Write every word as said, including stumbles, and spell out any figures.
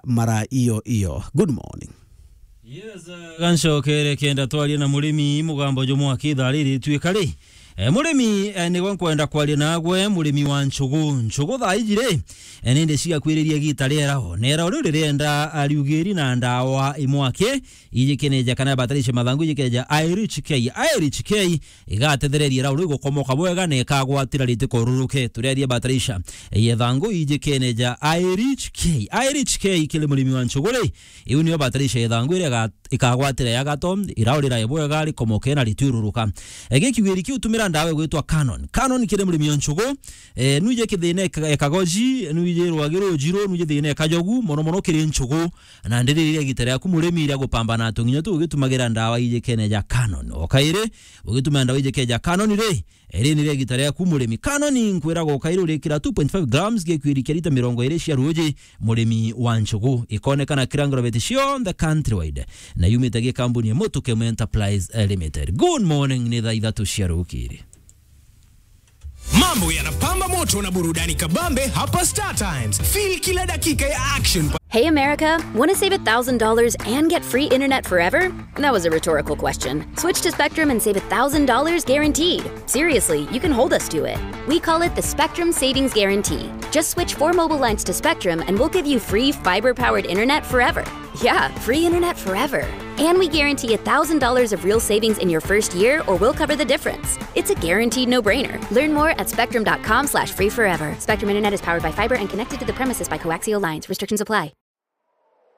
mara iyo iyo. Good morning. Yes, uh, gancokere kenda twarie na murimi mugambo jumwe akitharirituika ri. Eh, murimi, eh, nigwe nkwenda kwaria nagwe, murimi wa nchugu. Nchugu thaa iji ri, eh, nindi cigakwiriria gita ria irao. Na irao riu ririenda, ah, riugiri na ndawa imwaki, ijikeneja kana bataraitha mathangu ijikeja I R H K. I R H K igatethereria irau riu gukomoka bwega na ikagwatira ritikoruruke. Tureria bataraitha ya ithangu ijikeneja I R H K. I R H K kiri murimi wa nchugu ri, iu niyo bataraitha ya ithangu iria iga-, ikagwatira ya gato, irau rirae bwega rikomoke na ritiururuka. Egi kiugiri kiu tumira ndawa igwitwa Canon. Canon kiri murimi wa nchugu, eh, nuije kithina eka-, ekagoji, nuije rwagi rujiru, nuije thina ekajogu, mono mono kiri nchugu. Na ndiri iria gita riaku murimi iria gupambana tunginya tu ugitumagira ndawa ijikeneja Canon. O kairi, ugituma ndawa ijikeja Canon ri, iri ni ria gita riaku murimi. Canon nkwiraga o kairi urikira two point five grams gikwiri kia lita mirongo iri cia ruji, murimi wa nchugu. Ikonekana kira ngorobeti cionthe countrywide. Na yumite gi kambuni ya Mutukemu Enterprise, eh, Limited. Good morning, ni thaa ithatu cia rukiri. Mambo yanapamba moto na burudani kabambe hapa Star Times. Feel kila dakika ya action. Hey America, want to save a thousand dollars and get free internet forever? That was a rhetorical question. Switch to Spectrum and save a thousand dollars guaranteed. Seriously, you can hold us to it. We call it the Spectrum Savings Guarantee. Just switch four mobile lines to Spectrum and we'll give you free fiber-powered internet forever. Yeah, free internet forever. And we guarantee a thousand dollars of real savings in your first year, or we'll cover the difference. It's a guaranteed no-brainer. Learn more at spectrum dot com slash free forever. Spectrum Internet is powered by fiber and connected to the premises by coaxial lines. Restrictions apply.